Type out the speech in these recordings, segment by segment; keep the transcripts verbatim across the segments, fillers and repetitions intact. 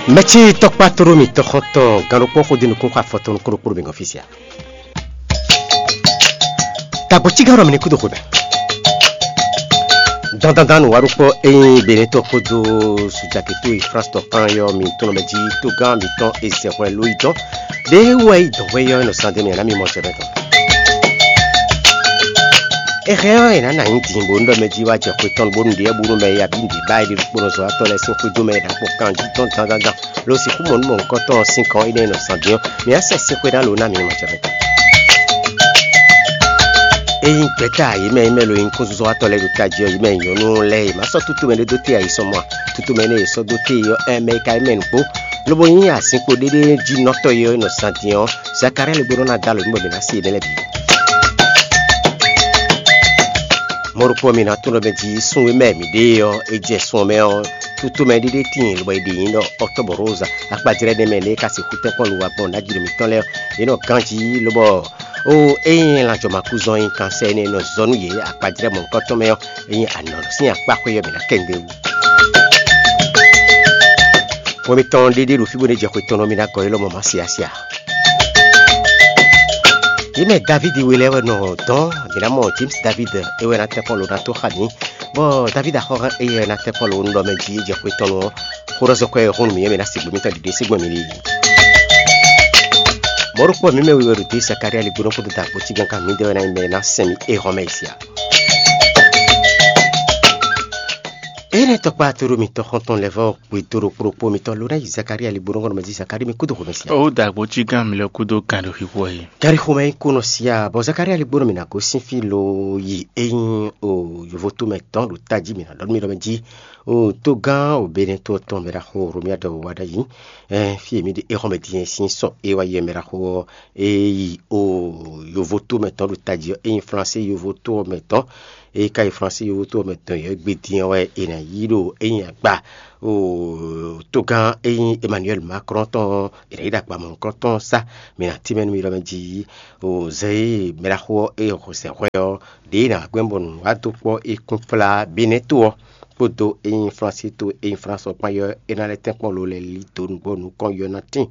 Mɛtí tɔkpá tóɖó mì tɔxɔntɔn gannukpɔ́n xó dó nukún xɔ afɔtɔn nukún ɖokpó ɖo mǐ gɔ́n fí sia. Tagbo cígán ɖɔ mǐ ní kú dó xwebɛ. Dandandan nǔwaɖukpɔ e nyí Benɛtɔ́ kpódó Sujaketɔ́ e France tɔn kplán yɔ́ mi tunɔ mɛ jí tógán mǐtɔn e zɛ hwɛ ló yi dɔn. Ɖěe wɛ yi dɔn hwɛ yɔ́ e nɔ zán dó mì ǎ ná mi mɔ jɛ mɛ tɔn. È hɛn ɔ́, è nǎ nɔ anyǐ din bónú ɖɔ mɛ jí wá jɛ xwe tɔn bónú ɖiɖɛ́ bónú mɛ e abǐ nǔɖé ba é ɖe ɖokpónɔ zɔ́watɔ́ lɛ́ɛ sín xwédo mɛ è nǎ gbɔn kanjí tɔn dandandan lo sixú mɔ nú mɔ̌hunkɔtɔn ɔ́ sín gɔ́n énɛ́ e nɔ zán din ɔ́, mǐ ná sɛ sín xwé ná lo ná mǐ ní mɔ jɛ mɛ tɔn. Ényí gbɛ̌ta yě mɛ e mɛ lo nyí kúnzɔ́watɔ́ lɛ́ɛ ɖo tají ɔ́, yě mɛ nyɔ̌nu lɛ́ɛ e má sɔ́ tútu mɛ ɖé dó te ayisɔnmɔ ǎ, tútu mɛ énɛ́ e è sɔ́ dó te ɔ́, ɛmɛ e ka nyí mɛ nǔgbó, lobo nyí azinkpo ɖéɖé jí nɔtɔ́ e ɔ́ nɔ zán din ɔ́, Zakalía lɛ́ gbe nɔ ná dó alɔ nú bɔ mǐ ná se yěɖée lɛ́ɛ bǐ. Mɔ̌ ɖokpó ɔ́, mi ná tunwun ɖɔ mɛ jí sun e mɛ mǐ ɖe ɔ́, é jɛ sun ɔ́ mɛ ɔ́, tutomɛ ɖé ɖé tíin, lobo è ɖe nyǐ ɖɔ Ɔtɔ́bɔ̌róza. Akpajlɛ́ ɖé mɛ lě e ka sixú tɛ́nkpɔ́n nǔwagbɔn ná jí ɖo mǐtɔn lɛ́ɛ ɔ́, yě nɔ ganjí, lobɔ ó ényí lanjɔmakúzɔn nyí kansɛ́ énɛ́ e nɔ zɔ nú yě akpajlɛ́ mɔ̌hunkɔtɔn mɛ ɔ́, é nyí anɔ̌ sín akpá xwé ɔ́ mǐ ná kɛ nǔɖé wú. Xwe mitɔn ɖéɖé ɖo fí bó ná jɛ xwe tɔn nɔ mì ná gɔ́ élɔ́ mɔ má se asi ǎ. Yě mɛ Davídi we lɛ́ɛ wɛ nɔ dɔn mǐ ná mɔ James David é wɛ ná tɛ́nkpɔ́n lo ná tó xa mǐ, bɔ Davídi axɔ́ hɛn éyɛ́ ná tɛ́nkpɔ́n lo nú ɖɔ mɛ jí é jɛ xwe tɔn nɔ xó ɖɔ zɔ́ kɔ́ ɛ hún nú mǐ é mɛ ná se gbě mitɔn ɖiɖe sín gbɔn mǐ ɖe yi. Mɔ̌ ɖokpó mǐ mɛ we wɛ ɖo dě Zakalía ligbónɔ kpódó dǎkpó cígán kan mǐdɛɛ wɛ ná nyí mɛ e ná sɛn mì éhɔ́mɛ yi sia. Énɛ́ tɔkpá tóɖó mitɔn xɔ́ntɔn lɛ́ vɔ́ gbe dó ɖokpó ɖokpó mitɔn ló ná yi Zakalía ligbónɔ kɔnɔ mɛ jí Zakalía mi kúdó xomɛ sia. Ó dǎgbó cí gán mi lɔ kúdó gǎn ɖo xixo ɛ. Gari xomɛ nyí kúnɔ sia bɔ Zakalía ligbónɔ mi ná gosín fí lo yi ényí o yovo tó mɛ tɔn ɖo tají mi ná ɖɔ nú mi ɖɔ mɛ jí o tógán o benɛtɔ́ tɔn mɛ ɖaxó Romiadɔ wa ɖ'ayǐ. Fí e mǐ ɖe éxɔ́mɛ din sín sɔ e wá yi mɛ ɖaxó ɔ́, é yi o yovo tó mɛ tɔn ɖo tají ɔ́, é nyí Flansé yovo tó ɔ́ mɛ tɔn. É ka yi Flansé yovo tó ɔ́ mɛ tɔn yě gbe din ɔ́ wɛ è nǎ yí ɖo é nyí agba o tógán e nyí Emmanuel Macron tɔn ɔ́, è nǎ yí ɖo agba mɔ̌hunkɔtɔn sá. Mǐ ná tínmɛ nú mi ɖɔ mɛ jí o zɛ e mɛ ɖaxó ɔ́ e xo sɛ hwɛ ɔ́, ɖě è nǎ gbɛ́ bɔ nǔ wá dó kpɔ́ é kún flá Benɛ́ to ɔ́ kpódó e nyí Flansé to e nyí Flans ɔ́ kpán ɔ́, é ná lɛ́ tɛ́nkpɔ́n lo lɛ́ lí dǒ nǔgbó nukɔn yɔ ná tíin.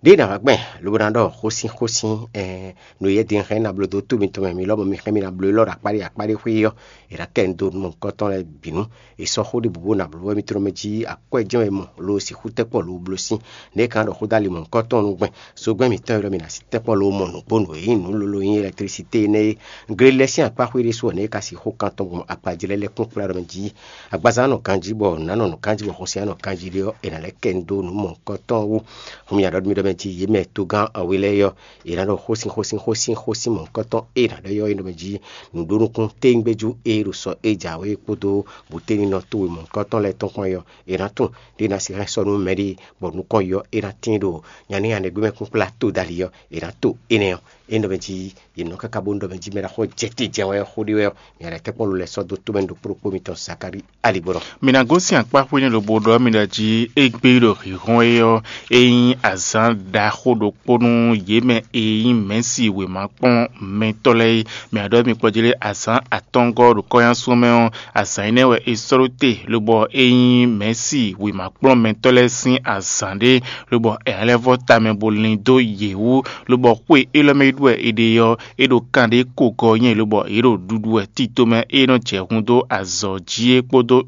Ɖěe nǎ wá gbɛn lobo ná ɖɔ xósin xósin, ɛɛ, nǔ e din hɛn ná bló dó tó mitɔn mɛ mi lɔmɔ̌ mi hɛn mi ná bló élɔ́ ɖo akpá ɖé akpá ɖé xwé ɔ́, è nǎ kɛ mi dó nú mɔ̌hunkɔtɔn lɛ́ɛ bǐ nu. È sɔ́ xó ɖěbǔ bó ná bló wɛ mitɔn mɛ jí akwɛ́ jɛ́n wɛ mɔ lo sixú tɛ́nkpɔ́n lo bló sín. Nɛ̌ ka ɖɔ xó dó ali mɔ̌hunkɔtɔn nú gbɛn? Zogbɛ́n mǐtɔn e ɖɔ mi ná sí tɛ́nkpɔ́n lo mɔ nǔgbó nǔ e nyí nǔ lolo nyí ɛlɛktlísité énɛ́ é. Glelɛ sín akpá xwé ɖésú ɔ́, nɛ̌ ka sixú kan tɔn gbɔn akpajlɛ́ lɛ́ɛ kún kplá ɖɔ mɛ jí? Agbaza nɔ ganjí bɔ nǔ ná nɔ nǔ ganjí bɔ xɔsɛ́n nɔ ganjí ɖé ɔ́, è nǎ lɛ́ kɛ mi dó nǔ mɔ̌hunkɔtɔn wú. Hun mì aɖɔ mi ɖɔ mɛ jí yě mɛ togán awe lɛ́ɛ yɔ, è nǎ ɖɔ xósin xósin xósin xósin mɔ̌hunkɔtɔn e è nǎ ɖɔ yɔ é nɔ mɛ jí nǔɖó nukún téńgbéjú e ɖo sɔ e jǎwe kpódó bǔténinɔ towe mɔ̌hunkɔtɔn lɛ́ɛ tɔn kpán yɔ, è nǎ tunwun ɖé ná sixá sɔ́ nú mɛɖée bɔ nukɔn yɔ é ná tíin ɖo nyaní anɛgbémɛ kúnkplá to dali ɔ́, è nǎ to énɛ́ ɔ́. É nɔ mɛ jí yě nɔ káká bónú ɖɔ mɛ jí mɛ ɖaxó jɛ te jɛ wɛ xó ɖé wɛ ɔ́, mǐ ná tɛ́nkpɔ́n lo lɛ́ɛ sɔ́ dó tómɛ ɖo kplɔ́ kpó mitɔn Zakalíi aligbɔnɔ. Mi ná gosín akpáxwé nɛ́ lobo ɖɔ mì ɖɔ jí égbé ɖo hǐnhɔ́n é ɔ́, é nyí azǎn ɖaxó ɖokpó nú yě mɛ e nyí mɛ̌si wěma kplɔ́n mɛtɔ́ lɛ́ɛ é. Mi ná ɖɔ mi kpɔ́ jí lé azǎn atɔ́ngɔ́ ɖo kɔ́nyásun mɛ ɔ́, azǎn énɛ́ wɛ è sɔ́ ɖó te, lobɔ é nyí mɛ̌si wěma kplɔ́n mɛtɔ́ lɛ́ɛ sín azǎn ɖé, lobɔ è nǎ lɛ́ vɔ́ tamɛ bo lin dó yě wú, lobɔ xwé élɔ́ mɛ é ɖu wɛ è ɖe ɔ́, é ɖo kan ɖé ko gɔ nyɛ, lobɔ yě ɖo ɖuɖu wɛ tito mɛ é nɔ jɛ hun dó azɔ̌ jí é kpódó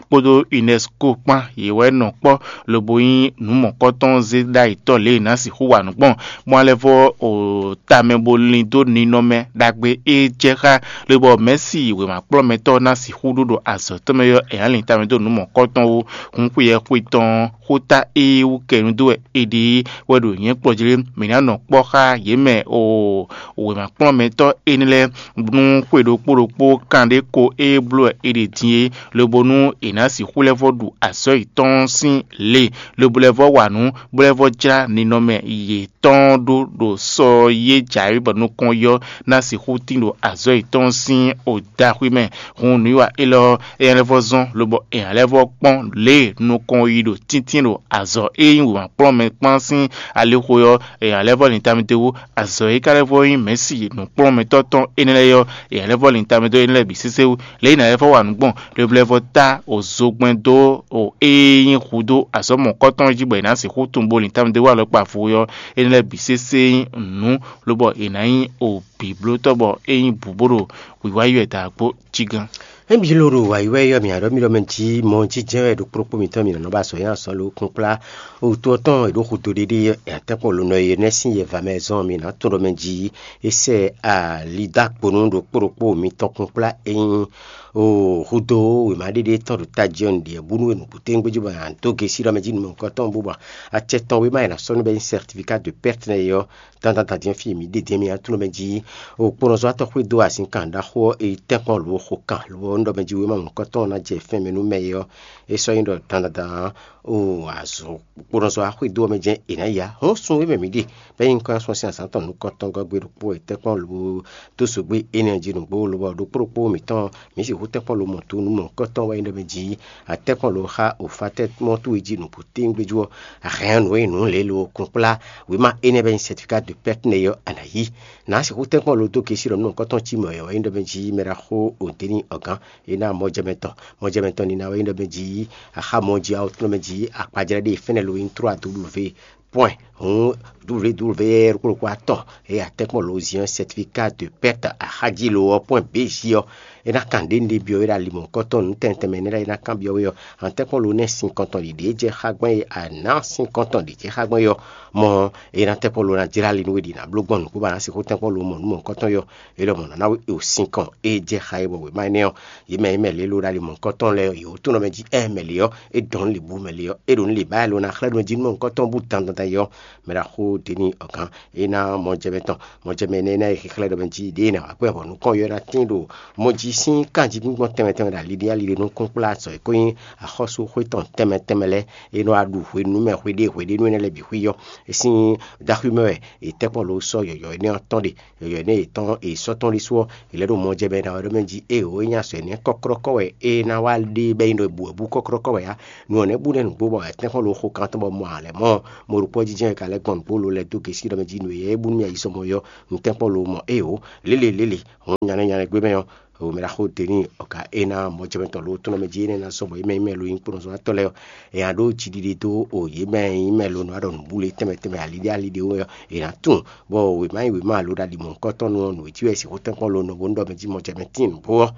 kpódó UNESCO kpán. Yě wɛ nɔ kpɔ́ lobo nyí nǔ mɔ̌kɔtɔn zé ɖ'ayǐtɔ́ lě e è nǎ sixú wa nǔ gbɔn, bó ná lɛ́ vɔ́ o tamɛ bo lin dó ninɔmɛ ɖagbe e jɛ xá, lobɔ mɛ̌si wěma kplɔ́mɛtɔ́ ná sixú ɖó ɖo azɔ̌ tɔn mɛ ɔ́, è nǎ lin tamɛ dó nǔ mɔ̌kɔtɔn wú. Hun xweyɛ́ xwe tɔn xóta e wú kɛ nu dó wɛ è ɖe é wɛ ɖo nyɛ̌ kplɔ́ jí lé. Mǐ ná nɔ kpɔ́ xá yě mɛ o wěma kplɔ́mɛtɔ́ énɛ́ lɛ́ɛ nú xwe ɖokpó ɖokpó kan ɖé ko e bló wɛ è ɖe din é, lobo nú è nǎ sixú lɛ́ vɔ́ ɖu azɔ̌ yětɔn sín lě, lobo lɛ́ vɔ́ wa nǔ, bó lɛ́ vɔ́ jlá ninɔmɛ yětɔn ɖó ɖo sɔ e jǎwe bɔ nukɔn yɔ ná sixú tín ɖo azɔ̌ yětɔn sín odaxwí mɛ. Hun nǔwiwa élɔ́ ɔ́, é nyɔ́ lɛ́ vɔ́ zɔ́n, lobɔ è nǎ lɛ́ vɔ́ kpɔ́n lě e nukɔn yi ɖo tíntín ɖo azɔ̌ e nyí wěmakplɔ́nmɛ kpán sín alixo ɔ́, è nǎ lɛ́ vɔ́ lin tamɛ dó wú. Azɔ̌ e ka lɛ́ vɔ́ nyí Mɛ̌si nǔkplɔ́nmɛtɔ́ tɔn énɛ́ lɛ́ɛ ɔ́, è nǎ lɛ́ vɔ́ lin tamɛ dó énɛ́ lɛ́ɛ bǐ sésé wú. Lě e è nǎ lɛ́ vɔ́ wa nǔ gbɔn, lobo lɛ́ vɔ́ ta o zogbɛ́n dó o e nyí hudó azɔ̌ mɔ̌kɔtɔn jí bɔ è nǎ sixú tunwun bó lin tamɛ dó wú alɔkpa vo ɔ́, énɛ́ lɛ́ɛ bǐ sésé nyí nǔ, lobɔ è nǎ nyí o bǐblótɔ́ bɔ é nyí bǔ bó ɖo wǐwá yi wɛ dǎgbó jí gán. Emi ló ɖo wǎyi wɛ yɔ mì aɖɔ mì ɖɔ mɛ jí mɔ jí jɛ́n wɛ ɖo kplɔ́kpó mǐtɔn mǐ nɔ nɔ ba azɔ̌ nyi azɔ̌ lo kúnkplá. Wutú ɔ́ tɔn è ɖǒ xudó ɖéɖé yɛ atɛ́nkpɔ́n lo nɔ e nɛ́ sín yɛ va mɛ zɔn mǐ ná tunɖɔ mɛ jí. É sɛ ali dó akpo nú ɖokpó ɖokpó mǐtɔn kúnkplá e nyí o hudó wěma ɖéɖé tɔn ɖo tají ɔ́ nǔɖiɖi búnú e nǔgbó téŋgbéjú bɔ a dó gesi ɖɔ mɛ jí nǔmɔ̌kɔtɔn bó bɔ acɛ tɔn wéma e nǎ sɔ́ nú bɛ́ nyí certificat de perte nɛ́ é ɔ́, dandan din fí mǐ ɖe din mì aklúnɔ mɛ jí. O kponɔzɔ́watɔ́ xwedó azinkan ɖaxó ɔ́, e tɛ́nkpɔ́n lǒ xo kan lo ɔ́, un ɖɔ mɛ jí wéma mɔ̌hunkɔtɔn ɔ́ ná jɛ fɛ́n mɛ nú mɛ é ɔ́, é sɔ́ nyí ɖɔ dandan o azɔ̌ kponɔzɔ́wa xwedó ɔ́ mɛ jɛ́n è nǎ ya. Hɔn sun e mɛ mǐ ɖe bɛ́ nyí nukɔn sɔ́ sín azǎn tɔn nukɔntɔn gɔ́ gbe ɖokpó e tɛ́nkpɔ́n lǒ dó zogbé énɛ́ jí nǔgbó lobɔ ɖokpó ɖokpó mǐtɔn mǐ sixú tɛ́nkpɔ́n lo mɔ to nú mɔ̌hunkɔtɔn wɛ nyí ɖɔ mɛ jí. Atɛ́nkpɔ́n lo xá òfatɛ́ mɔ́ towe jí nǔgbó téŋgbéjú ɔ́, a hɛn nǔ e nǔ lě lo kunkplá wěma énɛ́ bɛ́ nyí certificat de perte nɛ́ ɔ́, a nǎ yí. Nǎ sixú tɛ́nkpɔ́n lo dó gesi ɖɔ nú nukɔntɔn cí mɔ̌ yɔ̌ é ɖɔ mɛ jí mɛ ɖaxó Odeni Ɔgán é ná mɔjɛmɛ tɔn. Mɔjɛmɛ tɔn nina wɛ é ɖɔ mɛ jí axá mɔ jí awo tlɔ́ mɛ jí akpajlɛ́ ɖé fɛ́nɛ lo nyí trois W point hun W W ɖokpó ɖokpó atɔn e atɛ́nkpɔ́n lo ziɔn certificat de perte axájí lo ɔ́ point B J ɔ́. É ná kan ɖě un ɖe byɔ́ we ɖo ali mɔ̌hunkɔtɔn nǔ tɛntɛn mɛ énɛ́ lɛ́ɛ é ná kanbyɔ́ we ɔ́, atɛ́nkpɔ́n lo nɛ́ sin kɔntɔn ɖiɖě jɛ xá gbɔn e a nǎ sin kɔntɔn ɖě jɛ xá gbɔn é ɔ́, mɔ é ná tɛ́nkpɔ́n lo ná jlá ali nú we ɖi nǎ bló gbɔn nǔkún bɔ a nǎ sixú tɛ́nkpɔ́n lo mɔ nǔ mɔ̌hunkɔtɔn yɔ. É lɔmɔ̌ ná ná we o sin kɔn e jɛ xa e bɔ wěma énɛ́ ɔ́, yě mɛ e mɛ lě lo ɖo ali mɔ̌hunkɔtɔn lɛ́ɛ ɔ́, yě wǒ tunɔ mɛ jí ɛ mɛ lě ɔ́, é dɔn nú lě bú mɛ lě ɔ́, é ɖo nú lě bá e lo ná xlɛ́ nú mɛ jí nú mɔ̌hunkɔtɔn bú dandan yɔ. Mɛ ɖaxó Deni Ɔgán é ná mɔjɛmɛ tɔn, mɔjɛmɛ énɛ́ ná e xexlɛ́ ɖɔ mɛ jí ɖěe ná wá gbɛn vɔ nukɔn yɔ ná tín ɖo mɔ jí sín kanjí gbíngbɔn tɛnmɛ tɛnmɛ ɖo ali ɖé ali ɖé nú kúnkplá azɔ̌ e ko nyí axɔ́súxwé tɔn tɛnmɛ tɛnmɛ lɛ́ɛ, é nɔ wá ɖu hwenu mɛ hweɖée hweɖénu énɛ́ lɛ́ɛ bǐ xwí yɔ. É sín ɖaxwí mɛ wɛ è tɛ́nkpɔ́n lo sɔ́ yɔ̌yɔ́ énɛ́ ɔ́ tɔn ɖe. Yɔ̌yɔ́ énɛ́ yětɔn è sɔ́ tɔn ɖésú ɔ́, è lɛ́ ɖo mɔjɛmɛ ná wɛ ɖɔ mɛ jí ée ǒ é nyí azɔ̌ énɛ́ kɔ́klɔ́kɔ́ wɛ é ná wá ɖe bɔ é nyí ɖɔ è bu wɛ bú kɔ́klɔ́kɔ́ wɛ ǎ. Nu ɔ́ nɛ́ bú nɛ́ nǔgbó bɔ è tɛ́nkpɔ́n lo xo kan tɔn bɔ mɔ ǎ lɛ́ mɔ mɔ ɖokpó jí jɛ́n è ka lɛ́ gbɔn nǔgbó lo lɛ́ dó gěsí ɖɔ mɛ jí nǔ e yɛ é bú nú mì ayizɔ́mɔ yɔ un tɛ́nkpɔ́n lo mɔ ée ǒ lélelélé. Hɔn nyalɛ nyalɛ gbé mɛ ɔ́, o mɛ ɖaxó Deni ɔka é ná mɔjɛmɛtɔn lo tɔn mɛ jí énɛ́ ná zɔ́n bɔ yě mɛ nyí mɛ lo nyí kplɔ́nzɔ́watɔ́ lɛ́ɛ ɔ́, è nǎ ɖó jiɖiɖe dó o yě mɛ nyí mɛ lo nɔ ɖɔ nǔbúle tɛnmɛ tɛnmɛ aliɖé aliɖé wɛ ɔ́, è nǎ tunwun bɔ wěma nyí wěma alo ɖo aɖi mɔ̌hunkɔtɔn nu ɔ́, nǔ e jí wɛ è sixú tɛ́nkpɔ́n lo nɔ bó nú ɖɔ mɛ jí mɔjɛmɛ tíin nǔgbó ɔ́.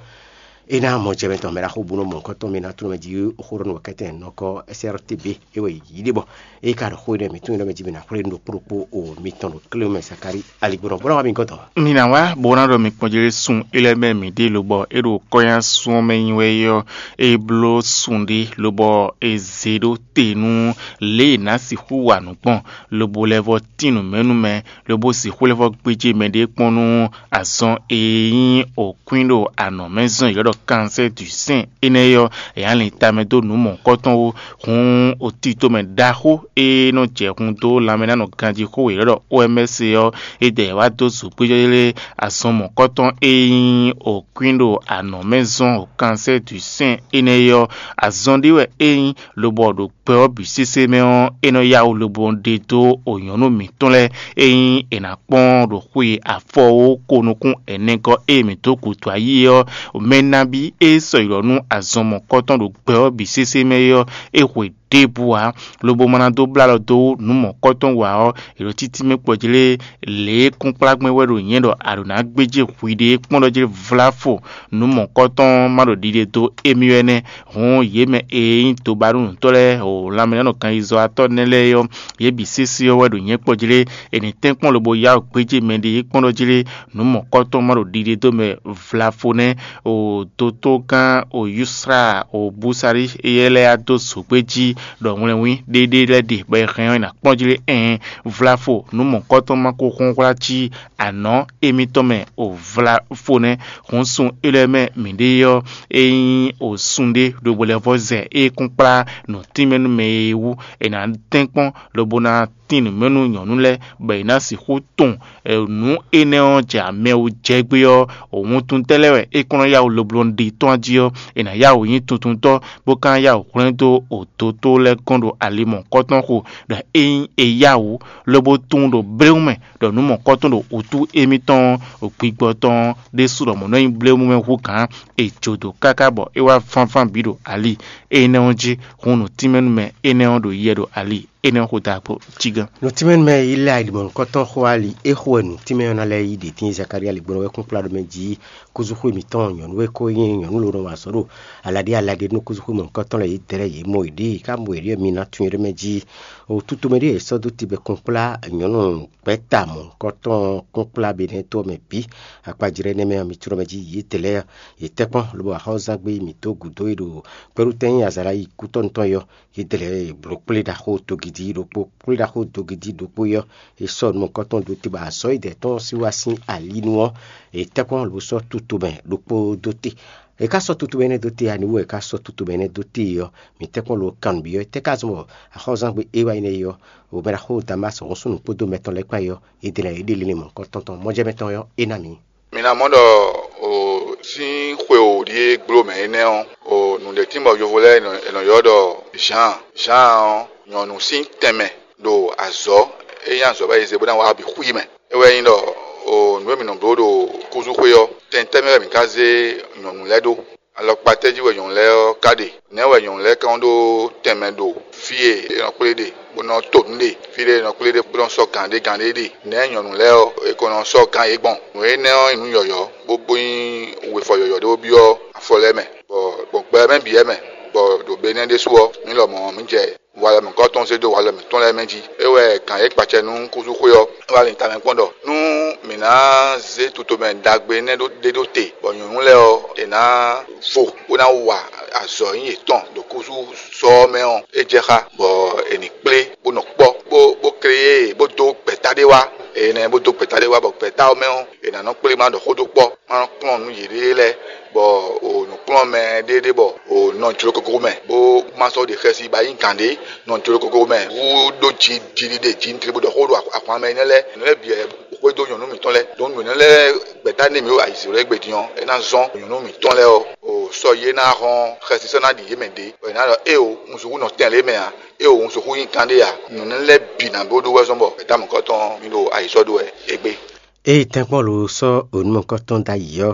É ná mɔjɛmɛtɔn mɛ ɖaxó bú nɔ mɔ̌hunkɔtɔn mɛ ná tló mɛ jí xó ɖɔ nú wɛkɛ́tɛn nɔkɔ S R T B é wɛ yě ɖe bɔ é ka ɖo xó énɛ́ mǐtɔn e nɔ mɛ jí mɛ ná xwlé nú ɖo kplokpó o mitɔn ɖo klé mɛ Zakalíi aligbɔnɔ bó ná wá mi gɔ́ dɔn. Mi ná wá bó ná ɖɔ mi kpɔ́n jlé sun é lɛ́ɛ mɛ mǐ ɖe lobɔ é ɖo kɔ́nyá sun ɔ́ mɛ nyi wɛ é ɔ́, é bló sun ɖé lobɔ é zé ɖó te nú lě e è nǎ sixú wa nǔ gbɔn, lobo lɛ́ vɔ́ tín nǔ mɛ nú mɛ, lobo sixú lɛ́ vɔ́ gbéjé mɛɖée kpɔ́n nú azɔn e nyí òkwín ɖo anɔ̌ mɛ zɔn yě ɖɔ kansɛ́ du sɛ́n énɛ́ ɔ́, è nǎ lin tamɛ dó nǔ mɔ̌hunkɔtɔn wú. Hǔn, otito mɛ ɖaxó e nɔ jɛ hun dó lanmɛ ná nɔ ganjí xó yě ɖɔ O M S ɔ́, é dɛ wá dó zǒgbéjɔ́ lé azɔn mɔ̌kɔtɔn e nyí òkwín ɖo anɔ̌ mɛ zɔn o kansɛ́ du sɛ́n énɛ́ ɔ́, azɔn ɖé wɛ é nyí, lobɔ ɖo gbɛ ɔ́ bǐ sésé mɛ ɔ́, é nɔ yá wǔ lobo ɖe dó o nyɔ̌nu mǐtɔn lɛ́ɛ e nyí è nǎ kpɔ́n ɖo xwe afɔwó ko nukún ɛnɛgɔ́ e mǐ dó gǔdo ayí é ɔ́, mɛ nabí e sɔ yi ɖɔ nú azɔn mɔ̌kɔtɔn ɖo gbɛ ɔ́ bǐ sésé mɛ é ɔ́, é hwe ɖěbǔ ǎ, lobo ma ná dó blá alɔ dó nǔ mɔ̌kɔtɔn wa ɔ́, è ɖo títí mɛ kpɔjlé lě e kúnkplágbɛ́n wɛ ɖo nyɛ ɖɔ a ɖǒ ná gbéjé hwiɖée kpɔ́n ɖɔ jlé vlá fo nǔ mɔ̌kɔtɔn ma ɖo ɖiɖe dó émí wɛ nɛ́. Hǔn yě mɛ e nyí dobanúnǔtɔ́ lɛ́ɛ o lanmɛnánɔ ganyizɔ́watɔ́ nɛ́ lɛ́ɛ ɔ́, yě bǐ sésé ɔ́ wɛ ɖo nyɛ kpɔ́ jlé. È nǐ tɛ́nkpɔ́n lobo yá wǔ gbéjé mɛɖée kpɔ́n ɖɔ jlé nǔ mɔ̌kɔtɔn ma ɖo ɖiɖe dó mɛ vlafo nɛ́. O dotó gán o Yusra o Busari éyɛ́ lɛ́ɛ yá dó zǒgbé jí ɖɔ wlɛnwí ɖéɖé lɛ́ɛ ɖe bɔ è hɛn ɔ́, è nǎ kpɔ́n jí lé? Ɛɛn, vlafo nǔ mɔ̌kɔ́tɔn ma ko hɔn hwlá cí anɔ̌ émítɔn mɛ o, vlafo nɛ́. Hǔn sun élɔ́ mɛ mǐɖée ɔ́, é nyí o sun ɖé ɖo bɔ lɛ́ vɔ́ zɛ é kún kplá nǔtínmɛ nú mɛ e wú è nǎ tɛ́nkpɔ́n lobo ná tín nǔ mɛ nú nyɔ̌nu lɛ́ɛ, bɔ è nǎ sixú tunwun nǔ énɛ́ ɔ́ jɛ amɛ wú jɛ gbé ɔ́, wuntun tɛ́ lɛ́ɛ wɛ é kɔn nɔ yá wǔ lobló ɖi tɔ́n jí ɔ́, è nǎ yá wǔ nyí tuntuntɔ́, bó ka ná yá wǔ hwlɛ́n dó odotó lɛ́ɛ gɔ́n ɖo ali mɔ̌kɔtɔn xo, ɖɔ ényí è yá wǔ, lobo tunwun ɖo bléwún mɛ ɖɔ nǔ mɔ̌kɔtɔn ɖo wǔtu émítɔn ɔ́, gbigbɔ tɔn ɔ́ ɖésú ɖɔ mɔ̌ nɔ nyí bléwún mɛ hú gǎn, è jǒ dó káká bɔ é wá vánván bǐ ɖo ali énɛ́ ɔ́ jí. Hun nǔtínmɛnúmɛ énɛ́ ɔ́ ɖo yɛ ɖo ali énɛ́ ɔ́ xo da kpo cí gán. Nǔtínmɛnúmɛ yi lɛ́ ali mɔ̌hunkɔtɔn xo ali é xo wɛ nǔtínmɛ ɔ́ ná lɛ́ɛ yí ɖě tíin Zakalía ligbɔnɔ wɛ kún kplá ɖɔ mɛ jí kúzúxwé mǐtɔn nyɔ̌nu e ko nyí nyɔ̌nu ló nɔ wa azɔ̌ ɖo alǎɖí alǎɖí nú kúzúxwé mɔ̌hunkɔtɔn lɛ́ɛ yě dɛ lɛ́ɛ yě mɔ yě ɖée, ká mɔ yě ɖíe mi ná tunwun yě ɖɔ mɛ jí o tutomɛ ɖíe è sɔ́ dó tibɛ kún kplá nyɔ̌nu gbɛ̌ta mɔ̌hunkɔtɔn kún kplá Benɛ́to ɔ́ mɛ bǐ. Akpajlɛ́ énɛ́ mɛ ɔ́, mi tunwun mɛ jí yě dɛ lɛ́ɛ yě tɛ́ kpɔ́n lobo axɔ́zán gbé mǐ dó gǔdo e ɖo kpɛɖutɛn nyí azǎn ná yi kútɔ́nu tɔn é ɔ́, yě dlɛ̌ blǒ kplé ɖaxó dogidi ɖokpó. Kplé ɖaxó dogidi ɖokpó é ɔ́, è sɔ́ nǔ mɔ̌hunkɔtɔn dó te bɔ azɔ̌ e dɛ̌ tɔn sín wá sín ali nu ɔ́, è tɛ́ kpɔ́n lobo sɔ́ tutomɛ ɖokpó dó te. È ka sɔ́ tutomɛ énɛ́ dó te ǎ, aniwú è ka sɔ́ tutomɛ énɛ́ dó te ɔ́, mǐ tɛ́ kpɔ́n lo kan nǔ byɔ́ é tɛ́ ka zɔn bɔ axɔ́zán gbé é wá nyí nɛ́ é ɔ́, o mɛ ɖaxó Damási hɔn súnnu kpódó mɛ tɔn lɛ́ɛ kpán é ɔ́, yě dlɛ̌ yě ɖe linlin mɔ̌hunkɔtɔn tɔn mɔjɛ́mɛ tɔn é ɔ́, é ná mǐ. Mi ná mɔ ɖɔ o sín xwe o ɖíe gbló mɛ énɛ́ ɔ́, o nǔɖé tín bɔ yovo lɛ́ɛ è nɔ ylɔ́ ɖɔ Zǎan. Zǎan ɔ́, nyɔ̌nu sín tɛnmɛ ɖo azɔ̌ e nyí azɔ̌ bɔ è zě bó ná wá bǐ xwí mɛ. É wɛ nyí ɖɔ o nǔ e mǐ nɔ bló ɖo kúzúxwé ɔ́, tɛn tɛ́ mɛ wɛ mǐ ka zé nyɔ̌nu lɛ́ɛ ɖó? Alɔkpa tɛ́ jí wɛ nyɔ̌nu lɛ́ɛ ɔ́ ka ɖe? Nɛ̌ wɛ nyɔ̌nu lɛ́ɛ ka nɔ ɖó tɛnmɛ ɖo fí e è nɔ kplé ɖe bó nɔ to nǔ ɖe, fí ɖé è nɔ kplé ɖe bó nɔ sɔ́ gǎn ɖé gǎn ɖé ɖe? Nɛ̌ nyɔ̌nu lɛ́ɛ ɔ́, è ko nɔ sɔ́ gǎn yě gbɔn? Nǔ énɛ́ ɔ́ nyí nǔ yɔ̌yɔ́, bó bó nyí wefɔ yɔ̌yɔ́ ɖé bó byɔ́ afɔ lɛ́ɛ mɛ, bɔ gbɔn gbɛ mɛ bǐ wɛ mɛ, bɔ ɖo be énɛ́ ɖésú ɔ́, mǐ lɔmɔ̌ mǐ jɛ walɔ mǐtɔn zé dó walɔ mǐtɔn lɛ́ɛ mɛ jí. É wɛ gǎn e gbacɛ nú kúzúxwé ɔ́ wá lin tamɛ kpɔ́n ɖɔ nú mǐ ná zé tutomɛ ɖagbe énɛ́ ɖé ɖó te, bɔ nyɔ̌nu lɛ́ɛ ɔ́, è nǎ vo bó ná wa azɔ̌ nyí yětɔn ɖo kúzú sɔ ɔ́ mɛ ɔ́, é jɛ xá, bɔ è nǐ kplé bó nɔ kpɔ́, bó bó klé yě, bó dó gbɛ̌ta ɖé wá. Énɛ́ bó dó gbɛ̌ta ɖé wá, bɔ gbɛ̌ta ɔ́ mɛ ɔ́, è nǎ nɔ kplé má ɖɔ xó dó kpɔ́, má nɔ kplɔ́n nǔ yěɖée lɛ́ɛ, bɔ o nǔkplɔ́nmɛ ɖé ɖé bɔ o nɔ jló koko mɛ, bó má sɔ́ ɖe xɛsi ba nyí gǎn ɖé nɔ jló koko mɛ wú ɖó ji jiɖiɖe ji ntre bó ɖɔ xó ɖo ahwan mɛ énɛ́ lɛ́ɛ. Nǔ lɛ́ɛ bǐ wɛ xwedó nyɔ̌nu mǐtɔn lɛ́ɛ. Ɖǒ nǔ énɛ́ lɛ́ɛ gbɛ̌ta n'i mǐ ɖo ayǐzǐnjlɔ́ égbé din ɔ́, é ná zɔ́n nyɔ̌nu mǐtɔn lɛ́ɛ ɔ́, o sɔ́ yě ná hɔn xɛsi sɔ́ ná ɖi yě mɛ ɖě, bɔ è nǎ ɖɔ éeǒ, un sixú nɔ tɛn lě mɛ ǎ, éeǒ, un sixú nyí kan ɖé ǎ. Nǔ énɛ́ lɛ́ɛ bǐ ná bó ɖó wɛ zɔ́n bɔ gbɛ̌ta mɔ̌kɔtɔn mì ɖo ayǐ sɔ́ ɖó wɛ égbé. Ée tɛ́nkpɔ́n lo sɔ́ onú mɔ̌kɔtɔn ɖ'ayǐ ɔ́,